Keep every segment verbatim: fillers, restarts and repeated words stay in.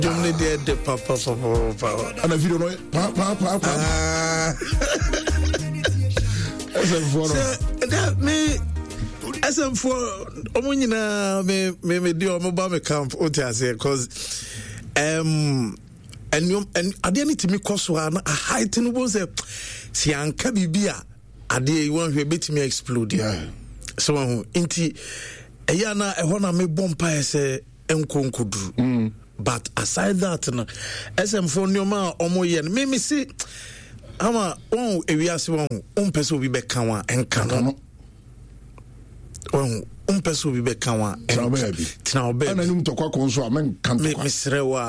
Dwom ne deɛ de papapapapa. Ɛna video no pa pa pa pa. S M foɔ no. Sɛ dɛ me S M foɔ ɔmo nyinaa me me me di ɔmo ba me camp, o ti aseɛ, 'cause um, ɛnneɛm ɛn adeɛ no tumi kɔ so a na ahaete no bo sɛ si anka biribi a adeɛ yi wɔn hwɛ ebetumi explode. Yeah. Sɛ wɔn ho nti ɛyɛ ana ɛhɔ na mebɔ mpaeɛ sɛ nkɔ nkɔduru, but aside that no, S M foɔ nneɛma a wɔn yɛ no, me me se ama wɔn ewiase wɔn ho wɔn mpɛ sɛ obi bɛka wɔn a ɛnka no. No. Wɔn ho mpɛ sɛ obi bɛka wɔn a Tena wo baabi. Tena wo baabi. Ɛna anim tɔkwa kɔ nso a menka Me ntɔkwa. Mesrɛ wo a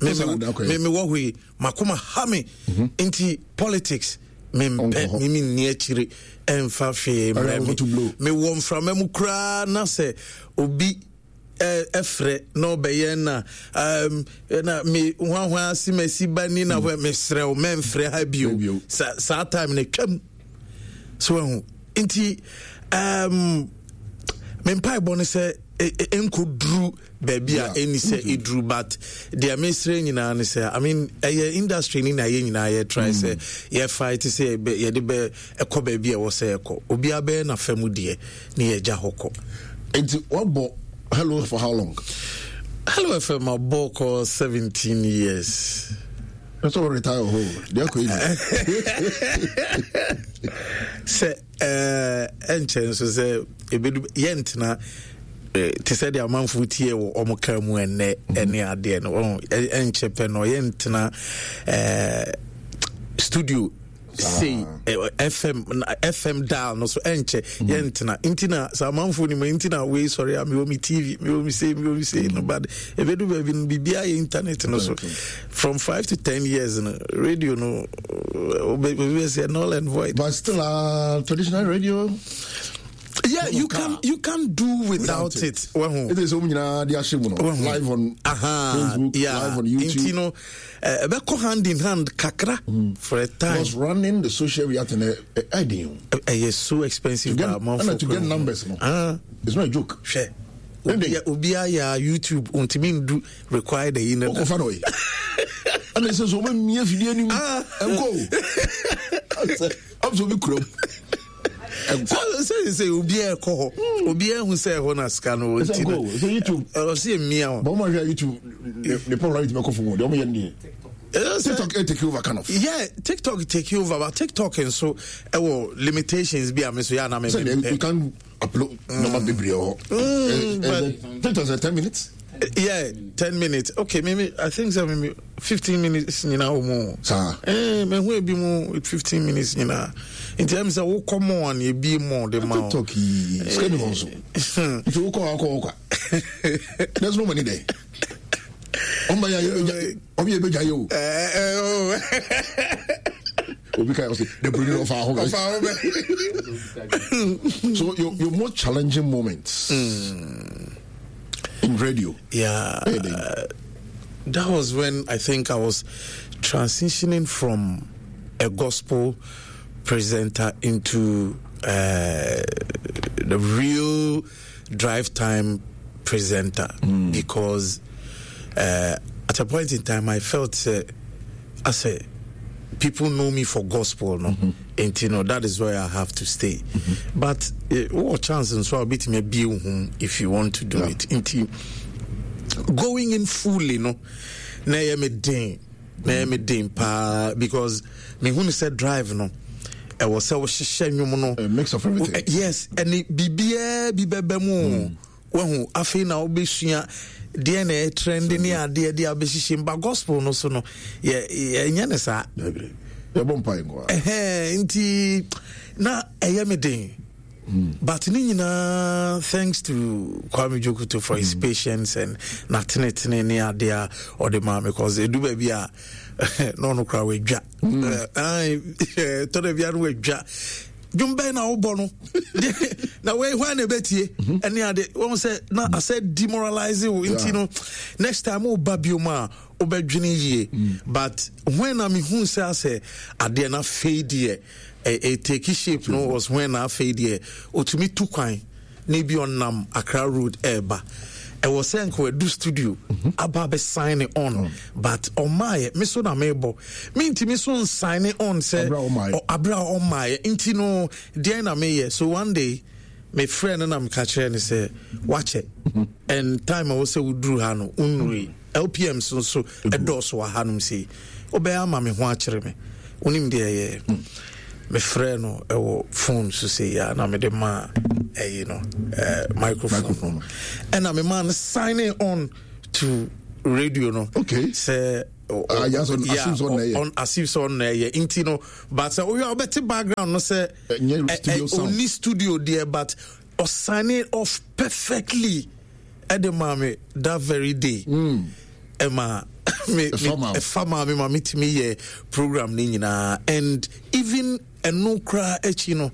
me Sɛ na da kɔ me yi. Me wɔ hɔ yi makoma ha me nti politics mempɛ. Ɔnkɔ hɔ. Me menni akyire ɛmfa hwee Ɛyɛ mmerɛ. ɔnkɔ to blow. Me mewɔ mframa mu koraa na sɛ obi ɛ- ɛfrɛ na ɔbɛyɛ na um, na me hwahwa ase masi ba ni na hɔ mesrɛ wo mɛmfrɛ ha bio. Bio. Sa, saa time no twam so ahu nti um, me mpaebɔ no sɛ ɛ- ɛ- ɛnkɔduru baabi a Yeah. ɛni sɛ ɛduru, but deɛ mesrɛ nyinaa ne sɛ, I mean, ɛyɛ industry ni na yɛ nyinaa yɛ try sɛ yɛfight sɛ yɛbɛ- yɛde bɛ ɛkɔ baabi a ɛwɔ sɛ ɛkɔ. Obiara bɛyɛ n'afa mu deɛ ne yɛgya hɔ kɔ. Nti wabɔ Hello for how long? Hello F M abɔ kɔ seventeen years. Ɛsɛ wɔ retire hɔ deɛ akɔ yi. Sɛ ɛɛ ɛnkyɛn nso sɛ ebedu yɛntena eh, te sɛ deɛ amanfo tie wɔ ɔmo kaa mu ɛnɛ ɛne adeɛ no ɔn ɛ- ɛnkyɛ pɛ no yɛntena ɛɛ studio sei ɛ, F M na- F M dial no so ɛnkyɛ yɛntena. Nti na sɛ amanfo nim nti na wei sɔre a mewɔ me T V, mewɔ me sei, mewɔ me sei no, but ebedu baabi no biribiara yɛ internet no so. From five to ten years no, radio no obi bɛ sɛ null and void. But still uh, traditional radio. Yeah, you can you can do without, Without it. it. Wahu. It is wɔn nyinaa de ahyɛ mu no Wahu. live on Aha, Facebook, yeah. live on YouTube. Nti no eh, ɛbɛkɔ hand in hand kakra for a time. Because running the social media thing ɛden o. Ɛyɛ so expensive. To get Ba amanfo ɛna to get kura. numbers no, Ah, it's not a joke. Hwɛ. Ɛnde. Obi obiara yɛ YouTube ntumi ndu required ayi no da. Ɔkɔfa na ɔyɛ ɛna ɛsɛ sɛ ɔma mia fidie anim ɛnkɔ o ɔm sɛ obi kurom ɛnkɔ. Sɛ sɛ sɛ obiara ɛkɔ hɔ, obiara ehu sɛ ɛhɔ na sika no wɔ ɛsɛ nti nkɔ no o sɛ YouTube. Ɔsi emia o. Bɔn mo ahwɛ YouTube ne ne popularity bɛkɔ fam o deɛ ɔmo yɛ no deɛ. TikTok ɛ take over kind of. Yeah, TikTok take over, but TikTok nso ɛwɔ limitations bi a me so yɛ anam. Sɛ deɛ you can upload number bebree wɔ hɔ. But- TikTok sɛ ten minutes. Yeah, ten minutes, okay. Maybe I think so, maybe fifteen minutes nyinaa wɔ mu. Saa. Eh, mehu ebi mu with fifteen minutes nyinaa nti ɛmi sɛ wokɔ mɔ a na ebi mɔ de ma wo. TikTok yi sika ni hɔ nso nti wokɔ akɔ wɔ kwa, there's no money there. Ɔmo yɛ ɔmo yɛ ebegya yɛ o. Eh, eh, oh. Obi ka yɛ ɔsɛ the bruni ɔfa ahɔ bɛ. Ɔfa ho bɛ. So your your most challenging moments in radio? Yeah. Hey, then. That was when I think I was transitioning from a gospel presenter into uh, the real drive time presenter because uh, at a point in time I felt uh, I said people know me for gospel no, and you know that is where I have to stay, but uh, what chance and so I'll be to be if you want to do Yeah. it nti going in fully no na ɛyɛ me den, na ɛyɛ me den paa because mehu no sɛ drive no ɛwɔ sɛ wohyehyɛ nnwom no. A mix of everything. Eh, yes, ɛne biribiaa bi bɛbɛ mu o. Wahu afei na wobɛsua deɛ na ɛyɛ trend ne adeɛ de abɛhyehyɛ mu ba gospel no so no yɛ yɛnyɛ ne saa. Dabi, yɛbɔ mpa yi nkoa. Ɛhɛn, nti na ɛyɛ me den, but ne nyinaa thanks to Kwame Jokuto for his patience and n'atenetene ne adeɛ a ɔde maa me, 'cause ɛdu baabi a na ɔno koraa wadwa tɔdɔ bia no wadwa dwom bɛn na wobɔ no na wei hwan na ɛbɛtie ɛne ade wɔn sɛ na asɛ demoralize wo nti no next time woba biom a wobɛdwene yie. But when na mehu sɛ asɛ adeɛ na afei deɛ ɛ take shape no was when na afei deɛ ɔtumi tu kwan na ebi ɔnam Accra road ɛɛba Ɛwɔ sɛ nka wadu studio mm-hmm. aba abɛ sign on mm. But ɔmaayɛ, me so na mebɔ, mentumi so nsign on sɛ aberɛ a ɔmaayɛ. Nti no deɛn na meyɛ? So one day mefrɛ no na meka kyerɛ no sɛ wakyɛ mm-hmm. and time a wɔ sɛ woduru ha no wonnurui. L P Ms nso ɛdɔɔso wɔ hanom sei, wobɛyɛ ama me ho akyerɛ me. Wonim deɛ ɛyɛ, mefrɛ no ɛwɔ phone so sei a na mede maa ɛyi no, eh, microphone no, ɛna memaa no signing on to radio no. Okay. Sɛ Ah, yeah, so yeah, as if sɛ ɔno ɛyɛ. On as if sɛ ɔno ɛyɛ. Nti no, but sɛ woyɛ a wobɛte background no sɛ ɛnyɛ ɛ- studio ɛ- sound. Ɔnni studio deɛ, but ɔsign off perfectly ɛde maa me that very day. Ɛma me me Ɛfa maa wo. Ɛfa maa me ma metumi yɛ program no nyinaa. And even ɛno koraa akyi no,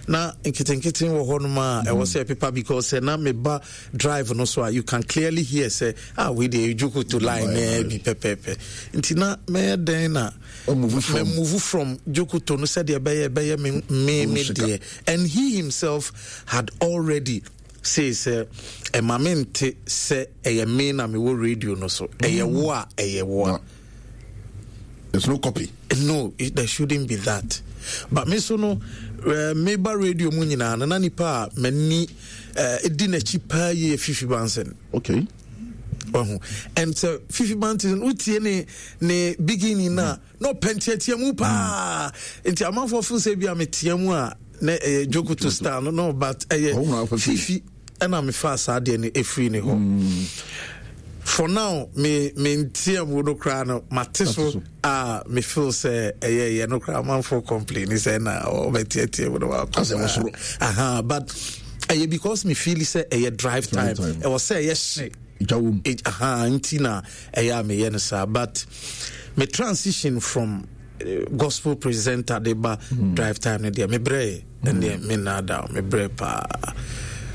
na nketenkete wɔ hɔ nom a ɛwɔ sɛ ɛpepa, because sɛ na meba drive no so a, you can clearly hear sɛ, ah, wei deɛ Dwokoto line na bi pɛpɛɛpɛ. Nti na mɛyɛ dɛn na move from move from Dwokoto no sɛdeɛ ɛbɛyɛ ɛbɛyɛ me me me deɛ. And he himself had already say sɛ ɛma me nte sɛ ɛyɛ me na mewɔ radio no so, ɛyɛ wo a, ɛyɛ wo a. There's no copy. No, it, there shouldn't be that. But me so no, uh, meba radio mu nyinaa no, na nipa a m'ani uh, di n'akyi paa yie Fifi Banson. Okay. Wahu. And sɛ Fifi Banson wotie ne ne beginning na na ɔpɛ nteatea mu paa. Nti amanfoɔ feel sɛ bi a metea mu a na ɛyɛ Jokoto style no no but ɛyɛ Fifi ɛna mefa saa deɛ no ɛfiri ne hɔ. For now, me me ntia mu no koraa no, mate so a me feel sɛ ɛyɛ yɛ no koraa, amanfoɔ complain sɛ na ɔbɛteatea mu no wakɔ. Aha, but ɛyɛ because me feel sɛ ɛyɛ drive time, ɛwɔ sɛ ɛyɛ hye. Aha, nti na ɛyɛ a meyɛ no saa. But me transition from uh, gospel presenter de ba mm. drive time no deɛ, mebrɛ. Ɛneɛ me nnaada, mebrɛ paa.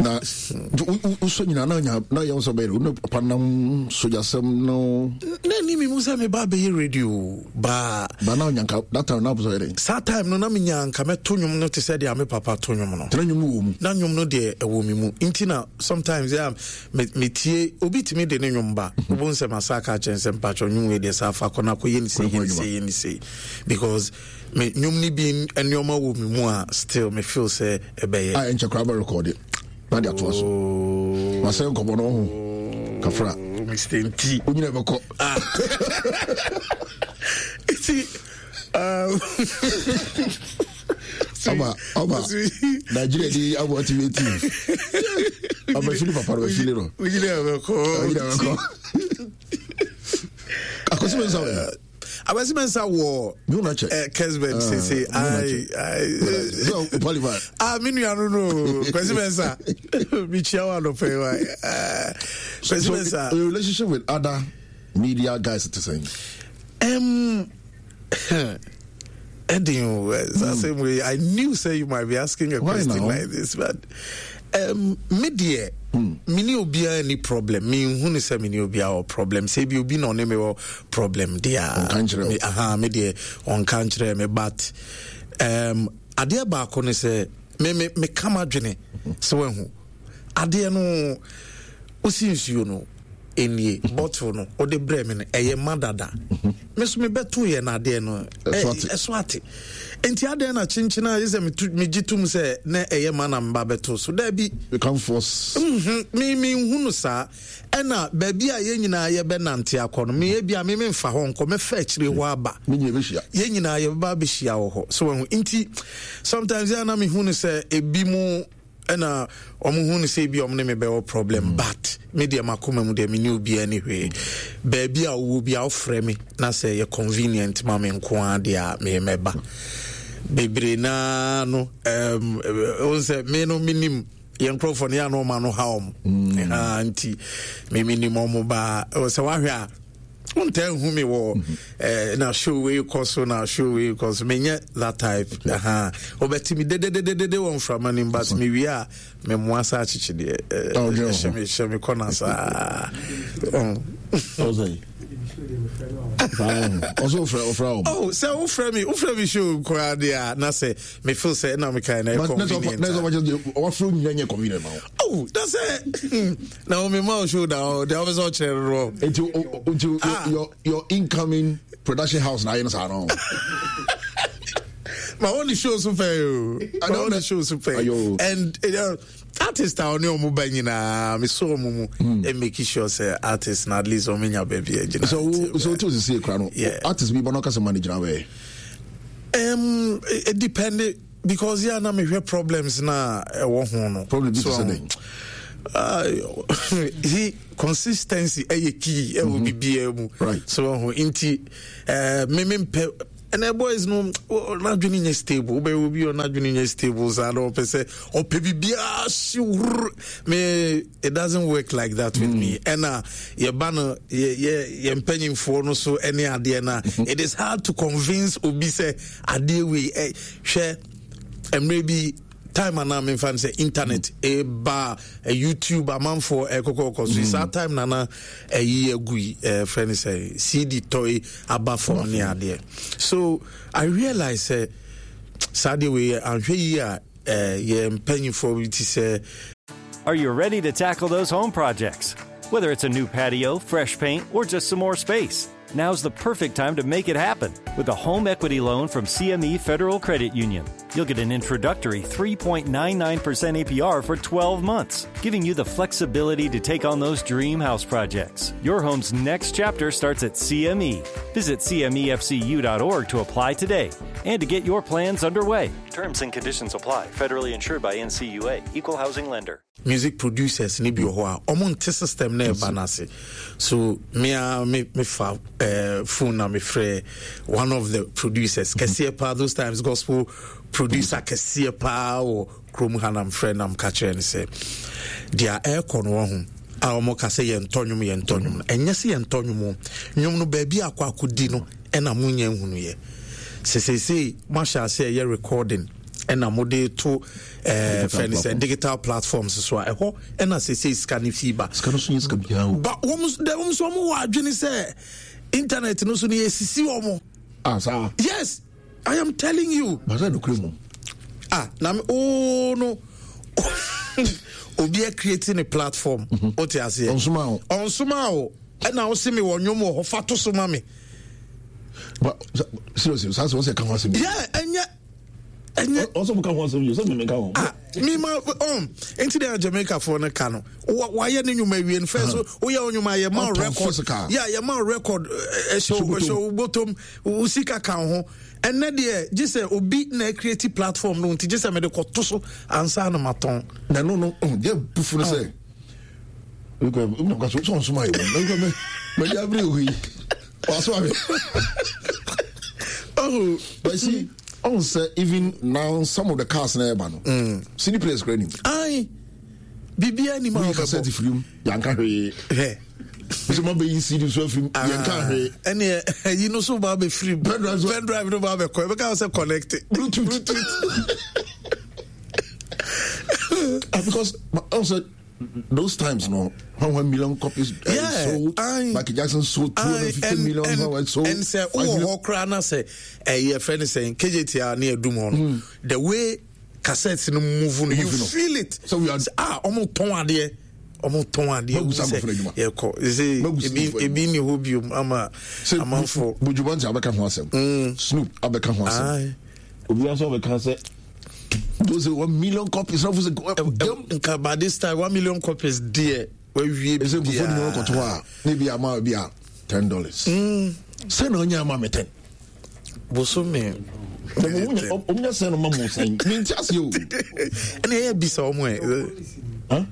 Na wosɔ nyina na nya na yɛn sɛ bɛyɛ wo papa nam sogyasɛm no. Na ni mi mu sɛ meba bɛyɛ radio baa. Ba na ɔnyanka that time na wopɛ sɛ ɔyɛ dɛn? Saa time no na menya nka mɛto nnwom no te sɛ deɛ me papa to nnwom no. Tena nnwom wɔ mu. Na nnwom no deɛ ɛwɔ me mu, nti na sometimes yeah, metie obi tumi de ne nnwom ba, wobɛhu sɛ masa aka kyerɛ sɛ mpakyɛ nnwom wei deɛ saa fa kɔ no akɔyɛ ne sei, yɛ ne sei, yɛ ne sei, because me nnwom no bi nneɛma wɔ me mu a still me feel sɛ ɛbɛyɛ. A ɛnkyɛ koraa bɛ record na de atoa so. Wasɛ nkɔmmɔ no ho kafra. Mister Nti wonyina bɛkɔ. Nti um, ɔba ɔba Nigeria di abɔ T V team ɔba fili papa no bɛ fili no. Wonyina bɛkɔ. Wonyina bɛkɔ. Akwasi Mensah wɛ. Akwasi Mensah wɔ eh, Kesben sese ai ai, ah, me nua no no Kwasi Mensah, mekyia wo anɔpɛ yi wa Kwasi Mensah. So your relationship with other media guys te sɛn? Um, Eddie, mm. Same way. I knew say you might be asking a Why question now? Like this, but um, me deɛ, mm. me ne obiara ni problem. Me nhu ne sɛ me ne obiara wɔ problem. Sɛ bi obi na ɔne me wɔ problem deɛ, me aha, me deɛ ɔnka nkyerɛ me. But um, adeɛ baako ne sɛ me me me kama dwene sɛ wahu adeɛ no wosi nsuo no nie, bottle no wode brɛ me no ɛyɛ ma dada, me so mebɛto yɛ no adeɛ no ɛso ate. Nti adeɛ na kyenkyen a yɛ sɛ megye tom sɛ na ɛyɛ ma na meba bɛto so, daabi, me menhu no saa. Ɛna baabi a yɛn nyinaa yɛbɛnante akɔ no, meyɛ bi a me memfa hɔ nkɔ, mɛfa akyire hɔ aba, yɛn nyinaa yɛbɛba abɛhyia wɔ hɔ so wahu. Nti sometimes yɛ na mehu no sɛ ebi mu ɛna ɔmo hu no sɛ ebi ɔmo ne me bɛwɔ problem mm. But me deɛ, makoma mu deɛ, me ne obiara ne hwee. Baabi a wowɔ bi a wofrɛ me na sɛ yɛ convenient ma me nko ara deɛ a, meyɛ mɛba. Bebree naa no um, wɔn sɛ me no menim yɛn nkurɔfoɔ no yɛ ano ɔma no ha ɔmo mm. Nti me menim ɔmo baa sɛ wahwɛ a wontaa nhu me wɔ mm-hmm. eh, na show wei kɔ so, na show wei kɔ so, menyɛ that type. Wobɛte me dedededede wɔ mframa no mu, but mewie a memmoa sa akyekye deɛ hyɛ me hyɛ me kɔna saa. Ɔsɛ wofrɛ wofrɛ wɔn. Oh, sɛ wofrɛ me wofrɛ me show koraa deɛ a na sɛ me feel sɛ ɛna mekae na ɛyɛ convenient. Na sɛ wɔkyɛ wɔafrɛ nyina nyɛ convenient ma wo. Oh, na sɛ na wo mema wo show da hɔ deɛ wopɛ sɛ ɔkyerɛ no no. Nti nti your your incoming production house na ayɛ no saa no. Ma wɔn ne show so pɛɛ o. Ma wɔn ne show so pɛɛ. And uh, artist a ɔne ɔmo ba nyinaa mesɔ ɔmo mu mm. and make sure sɛ artist na at least ɔmo nya baabi agyina. So wo so wotu sisi ekura no artist bi ba na ɔkasa ma ne gyina bɛyɛ. Um, it depend because yeah na mehwɛ problems na ɛwɔ ho no. Problem bi te sɛ dɛn. Uh, he consistency ɛyɛ key ɛwɔ biribiara mu. Right. So ɔho nti ɛɛ me me mpɛ ɛnɛ boys no n'adwene nyɛ stable wobɛyɛ obi a n'adwene nyɛ stable saa na ɔpɛ sɛ ɔpɛ biribiara hye wurr me it doesn't work like that with mm. me ɛna yɛba no yɛ yɛ yɛ mpanyinfoɔ no so ɛne adeɛ na it is hard to convince obi sɛ adeɛ wei ɛ hwɛ mmerɛ bi time anaa memfa no sɛ internet ɛba mm. youtube amanfoɔ ɛkɔkɔkɔ so mm. saa time nana ɛyi agu yi ɛfrɛ no sɛ cd tɔe aba fam ne adeɛ so i realize sɛ saa deɛ wei anhwɛ yi a yɛ mpanyinfoɔ bi ti sɛ Are you ready to tackle those home projects? Whether it's a new patio, fresh paint, or just some more space, now's the perfect time to make it happen with a home equity loan from C M E Federal Credit Union. You'll get an introductory three point nine nine percent A P R for twelve months, giving you the flexibility to take on those dream house projects. Your home's next chapter starts at C M E. Visit C M E F C U dot org to apply today and to get your plans underway. Terms and conditions apply. Federally insured by N C U A. Equal housing lender. Music producers ni bi wɔ hɔ a ɔmo nte system na ɛba n'ase. So me a me me fa eh, phone na me frɛ one of the producers kɛseɛ paa those times gospel producer kɛseɛ paa wɔ kurom ha na mfrɛ na mka kyerɛ no sɛ deɛ ɛrekɔ no wɔ ho a ɔmo ka sɛ yɛntɔ nnwom yɛntɔ nnwom no ɛnyɛ sɛ yɛntɔ nnwom o nnwom no baabi akɔ akɔdi no ɛna mo nyɛ nhunu yɛ sɛ seesei mo ahyɛ ase ɛyɛ recording ɛna mo de to ɛɛ fɛn sɛ digital platforms so a ɛhɔ ɛna seesei sika ne fi ba. Sika no so yɛ sika biara o. Ba wɔn dɛ wɔn nso wɔn wɔ adwene sɛ internet no so no yɛ sisi wɔn. Ah saa. Yes, I am telling you. Basa nukuri mu. Ah na mi ooo no obi a create ne platform. O te aseɛ. Ɔnsoma o. Ɔnsoma o ɛna ɔsi mi wɔ nnwom wɔ hɔ fa to so ma mi. But seriously, saa sɛ wɔsɛ ka ho asɛm. Yeah, ɛnyɛ. Ɛnyɛ. Ɔsɛ mo ka ho asɛm yi, sɛ mi ka ho. Ah, mi ma ɔn nti deɛ Jamaica foɔ no ka no, wayɛ ne nnwuma awie no fɛ so woyɛ wo nnwuma yɛ ma record, yɛ yɛ ma record ɛhyɛ ɛhyɛ wo bɔtɔm wo sika ka ho. Ɛnɛ deɛ gye sɛ obi na create platform no nti gye sɛ mede kɔto so ansa na matɔn. Na no no deɛ bufu no sɛ sɛ ɔnsoma yɛ wɔ mɛde abere wɔ yi waso ahwɛ. Oh, but see, on say even now some of the cars na ɛba no. Mm. C D players kura nim. Ayi, biribiara nim a ɔbɛbɔ. Cassette firi mu, yanka hwee. Hɛ. Bisi mo bɛyi C D so afiri mu, yanka hwee. Ɛni ɛyi no so ba bɛ firi mu. Pen drive so. Pen drive no ba bɛ kɔ, ɛbɛ ka sɛ connect. Bluetooth. Bluetooth. Ah, because also those times, no, one million copies uh, yeah, sold. Aye, Michael Jackson sold two hundred fifty and, million. And, and, sold and say, oh, oh, cry, say, eh, yeah, friend is saying, K J T R near Dumon. The way cassettes no move, no, you Moving on. feel it. So we are ah, almost ton idea. Almost ton idea. Magu sa nkɔfra adwuma. Yeah, ko. You see, Magu sa ebi nkɔfra ebi ni hɔ biom ama amanfo. Buju Banton abɛka ho asɛm. Snoop abɛka ho asɛm. Aye. Obi nso abɛka sɛ those one million copies. Now, for Nka by this time one million copies dear. Where we be? Say before the one kotoa, maybe ama be a ten dollars. Say no nya ama me ten. Bosome. Omunya say no mamu say. Me nti ase o. Ene ye bisa omo e. Huh?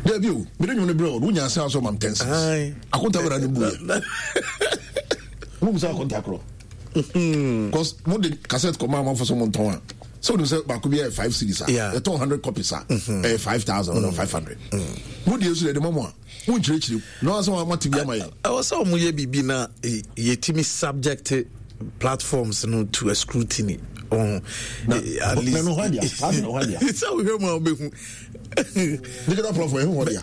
There be o. Me don't bro. Unya say so mam ten cents. Akonta bra no bu. Mo musa akonta kro. Because mo de cassette koma ma for some ton a. So you say baako bi five series a. Yeah. E hundred copies a. Eh five thousand or five hundred. Mo de so de mo a. Mo nkyerɛkyerɛ. No asɛ wa mate bi ama yɛ. I was so mo ye bibi na yetimi subject platforms no to a scrutiny. Ɔho at least sɛ wohwɛ mu a wobɛhu digital platform ɛho hɔ dea.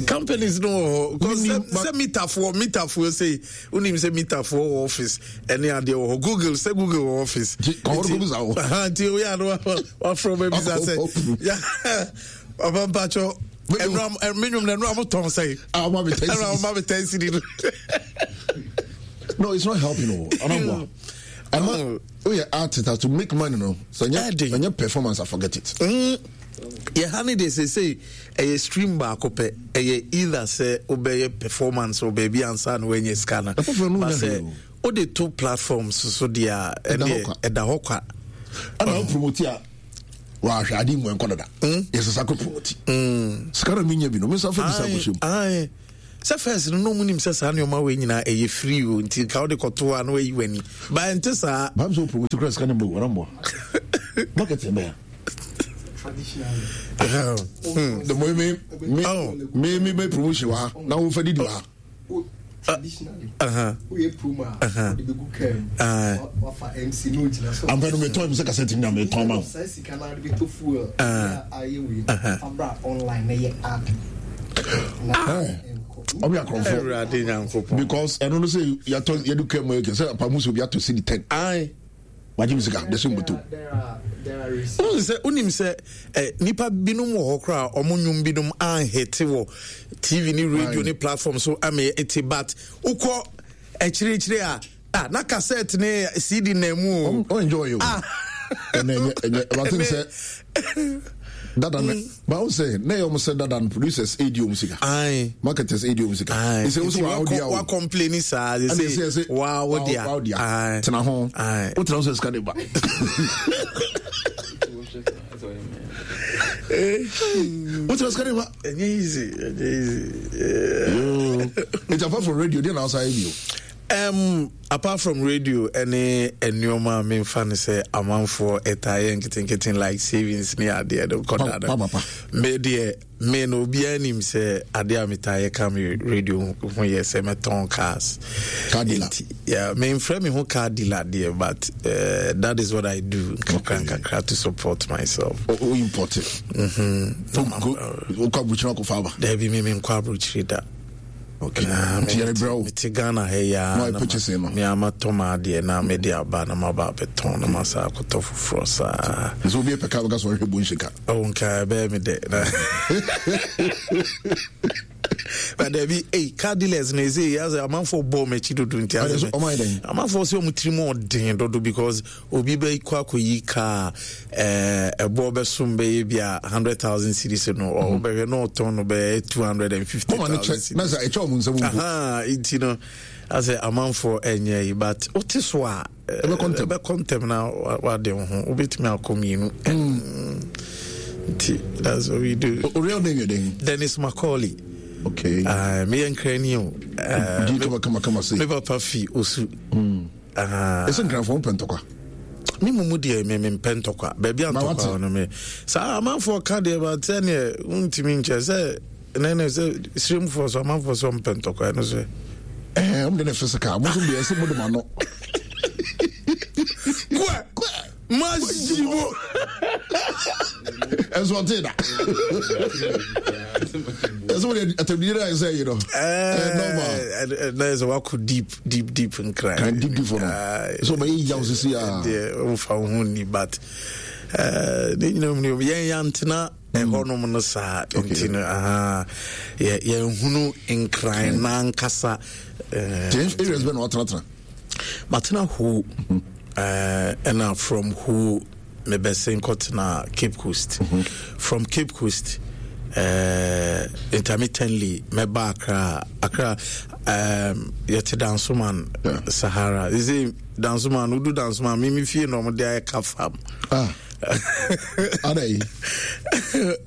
Companies no wɔ hɔ sɛ mitafoɔ mitafoɔ sɛ wonim sɛ mitafoɔ wɔ office ɛne adeɛ wɔ hɔ. Google, sɛ Google wɔ office nti woyɛ ano wafrɛ wobɛbisa sɛ papa mpakyɛ ɛnura me nwom na ɛnura mo tɔn sɛn, ɛnura mo ma me ten cedi no. No, it's not helping o. Ɔnabɔ ama woyɛ artist to make money no, so ɛnyɛ ɛnyɛ performance, I forget it. Mm. Yɛ ha ne deɛ, seesei ɛyɛ stream baako pɛ. Ɛyɛ either sɛ wobɛyɛ performance wɔ baabi ansa na woanya sika no, ba sɛ wode to platforms so deɛ a, ɛneɛ ɛda hɔ kwa. Ɛna wo promote a, wahwɛ ade mu ɛnkɔ dada, yɛsɛ kɔ promote sika na menya bi no, mensa fa bisa akɔhyɛ mu. Sɛ first no na ɔmu nim sɛ saa nneɔma wei nyinaa ɛyɛ free o, nti nka wode kɔto a na wayi w'ani ba, ɛnte saa. Bam sɛ wo promote kora, sika no mbɔ wɔrɔmmɔ marketing bɛya. The more me me me me me promotion wa na wo fa didi wa. Traditionally, woyɛ promo a, wode bɛgu kaa mu, wafa M C na ogyina so. Ampa no metɔn mi sɛ kasɛt na metɔn ma wo. Saa sika no wode bɛtɔ fuel ayɛ wei, fa bra online na yɛ ad. Ɔmo yɛ akorɔmfo. Awurade Nyankopɔn. Because ɛno no sɛ yɛatɔ yɛde kaa mu yɛ sɛ apamu sɛ obi atɔ cedi ten. Aye. Wagye mi sika de so mboto. Wohu sɛ wonim sɛ eh, nipa binom wɔ hɔ koraa ɔmo nnwom binom anhete wɔ T V ne radio ne platform so ama ɛte, but wokɔ akyirikyiri a, ah, na cassette ne C D na mu o. O enjoy o. Ah, ɛnɛ ɛnyɛ ɛnyɛ ɛbate sɛ dada ne ba wo sɛ na ɛyɛ ɔmo sɛ dada no, producers edi ɔmo sika, marketers edi ɔmo sika. Ɛsɛ wo sɛ wa wo dia o, wa complain saa de sɛ wa wo dia. Wa wo dia, tena ho, wo tena ho sɛ sika de ba, wo tena sika de ba. Ɛnyɛ easy, ɛnyɛ easy. It's apart from radio deɛ na ɔsa yɛ bi o. Um, apart from radio ɛne nneɛma a memfa no sɛ amanfoɔ ɛtaa yɛ nketenkete like savings ne adeɛ no kɔda no, me deɛ, me no obiara nim sɛ adeɛ a metaa yɛ ka me radio ho yɛ sɛ mɛtɔn cars. Car dealer. Nti, yeah, memfrɛ me ho car dealer deɛ, but uh, that is what I do nkakra nkakra to support myself. O, o import it. Mm-hmm. Wokɔ aburukyiri akɔfa aba? Daabi, me menkɔ aburokyiri da. Okay, nti yɛre brɛ wo. Mete Ghana ha yi a na purchasing no. Me amatɔ ma adeɛ na mede aba na maba abɛtɔn na masa akɔtɔ foforɔ saa. Sɛ obi pɛ kaa bɛka sɛ ɔhwɛ bonhyɛ ka. Oh, nka ɛbɛyɛ me dɛ na but dabi, ei, car dealers na ɛsɛ yi asɛ amanfoɔ bɔɔ m'akyi dodo, nti asɛ amanfoɔ sɛ ɔmo tiri mu ɔden dodo because obi bɛkɔ akɔyi car ɛɛ ɛbɔ bɛsom bɛyɛ bi a hundred thousand cedis no, ɔbɛhwɛ na ɔtɔn no bɛyɛ two hundred and fifty thousand cedis. Na sɛ ɛkyɛ ɔmo nsɛm mpo. Nti no asɛ amanfoɔ ɛnyɛ yi, but wote so a ɛbɛkɔ ntɛm. Ɛbɛkɔ ntɛm na wade wo ho, wobɛtumi akɔ mmienu, nti that's what we do. O real name yɛ den? Dennis Macaulay. Okay. uh, meyɛ nkrani o. Uh, di kama kama kama se. Me papa fi Osu. Ɛsɛ nkranfoɔ mpɛ ntɔkwa. Me mu mu deɛ, me mempɛ ntɔkwa. Baabi a ntɔkwa no, me saa amanfoɔ ka deɛ ba sɛneɛ wontumi nkyɛ sɛ nɛnɛ sɛ siremfoɔ so amanfoɔ sɛ ɔmpɛ ntɔkwa ɛno so. Ɛɛ, ɔmo de ne physical, mo nso deɛ ɛsɛ mo de ma no. Kua masibo. Ɛnso ɔte da ɛsɛ wode atɛmdie no ayɛ sɛ yi no ɛɛ normal na yɛ sɛ wakɔ deep deep deep nkran. Kan deep deep no sɛ ɔbɛyɛ yaw sisi a. Deɛ ɔmfa wo ho ni, but ne nyina mu no yɛn yɛntena ɛhɔnom no saa, nti no aha yɛnhunu nkran nankasa. Areas bɛ na watenatena? Matena Ho, ɛna from Ho mebɛsen kɔtena Cape Coast. mm -hmm. From Cape Coast, uh, intermittently mɛba Accra. Accra, um, yɛte Dansoman, yeah. Sahara. You see Dansoman, wodu Dansoman, mimi fie na ɔmode ayɛ ka farm. Ah. Ada yi.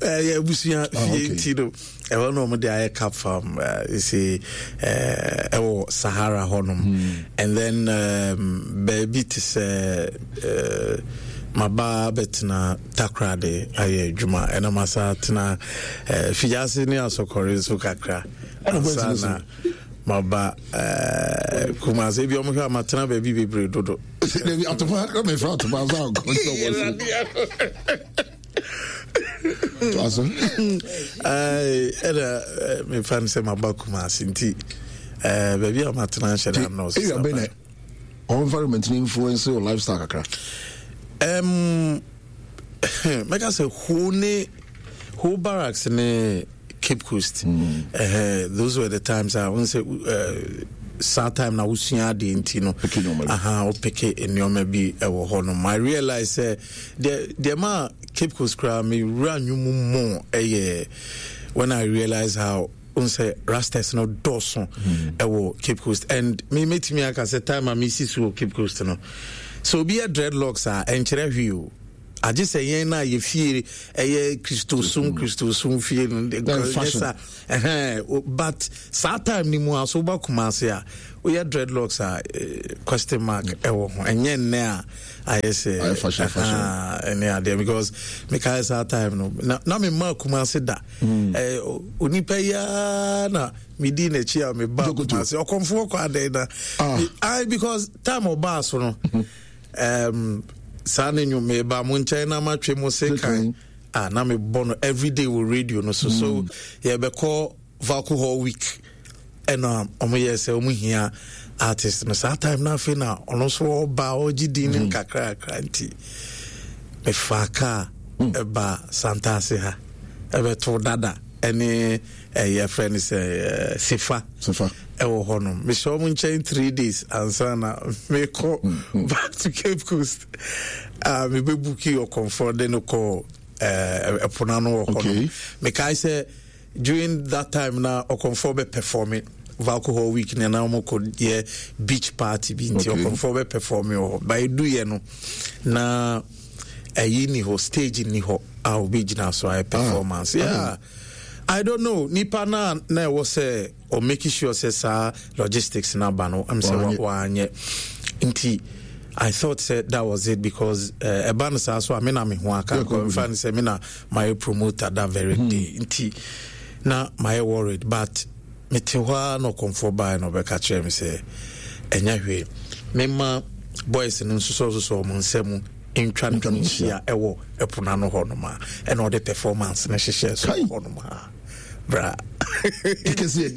Ɛyɛ abusua fie nti no ɛhɔ na ɔmode ayɛ cap farm, uh, you see, ɛwɔ uh, Sahara hɔnom. mm. And then um, baabi te sɛ uh, maba bɛtena Takorade ayɛ adwuma, ɛna masa tena uh, Figyase ne Asɔkɔre nso kakra ansa na Maba eh, Kumase bi ɔmo hwɛ a matena baabi bebree dodo. Dabi atoma na mefrɛ atoma sɛ akɔ. Ɛna mefa no sɛ maba Kumase nti eh, baabi a matena nhyɛ da nnɔɔso. Area bɛn na ɔ environment no influence your lifestyle kakra? Um, mɛka sɛ Ho ne Ho Barracks ne Cape Coast. mm. uh, those were the times a wɔn sɛ uh, saa time na wosua adeɛ nti no, aha, wopeke nneɛma bi ɛwɔ hɔ nom. I realize sɛ deɛ deɛ ma Cape Coast koraa mewura nnwom mu ɛyɛ when I realize how n sɛ rastas no dɔɔso ɛwɔ Cape Coast. And me mɛtumi aka sɛ time a mesi so wɔ Cape Coast no, sɛ obi yɛ dreadlocks a, ɛnkyerɛ hwee o, agye sɛ yɛn no a yɛfie ɛyɛ Kristosom, Kristosom fie no sa. But saa time ni mu a so woba Kumase a, woyɛ dreadlocks a, eh, question mark ɛwɔ ho. Ɛnyɛ nnɛ a ayɛ sɛ ɛne adeɛ, because mekae saa time no na, na mema Kumase da mm. eh, onipa yi ara na medi n'akyi a meba Kumase, Ɔkɔmfoɔ kɔ adɛn na ah. I, because time ɔbaa so no, um, saa ne nnwom meba mo nkyɛn na matwe mo se kan ah, na mebɔ no everyday wɔ radio no so mm. So yɛbɛkɔ Valco Hall week, ɛna ɔmo yɛ sɛ ɔmo hia artist no. Saa time no afei na ɔno nso ɔba ɔgye din no nkakrakra, nti mefaa kaa ɛba Santase ha, ɛbɛto Dada ɛne ɛyɛ frɛ no sɛ Sefa ɛwɔ hɔ nom. Mehyɛ ɔmo nkyɛn three days ansa na mekɔ back to Cape Coast a mebɛbuki Ɔkɔmfoɔ de no kɔ ɛpono ano wɔ hɔ nom. Mekae sɛ during that time na Ɔkɔmfoɔ bɛ perform Valco Hall week na na wɔn kɔ yɛ beach party bi, nti Ɔkɔmfoɔ bɛ perform wɔ hɔ. Ba edu yɛ no na ɛyi ni hɔ, stage ni hɔ a obi gyina so ayɛ performance. Ah, yeah, I don't know nipa na na ɛwɔ sɛ or making sure sɛ saa logistics na ba no ɛm sɛ wanyɛ, nti I thought sɛ that was it, because ɛba uh, no saa so a, me na me ho aka nfa no sɛ me na mayɛ promoter that very mm. day, nti na mayɛ worried. But mete hɔ a na Ɔkɔmfoɔ baeɛ na ɔbɛka kyerɛ me sɛ ɛnyɛ hwee, mema boys no nso sɔsosɔ ɔmo nsɛm ntwa ne ho nhyia ɛwɔ ɛpo no ano hɔ nom a, ɛna ɔde performance no hyehyɛ so hɔ nom a, bra. Kɛsɛ.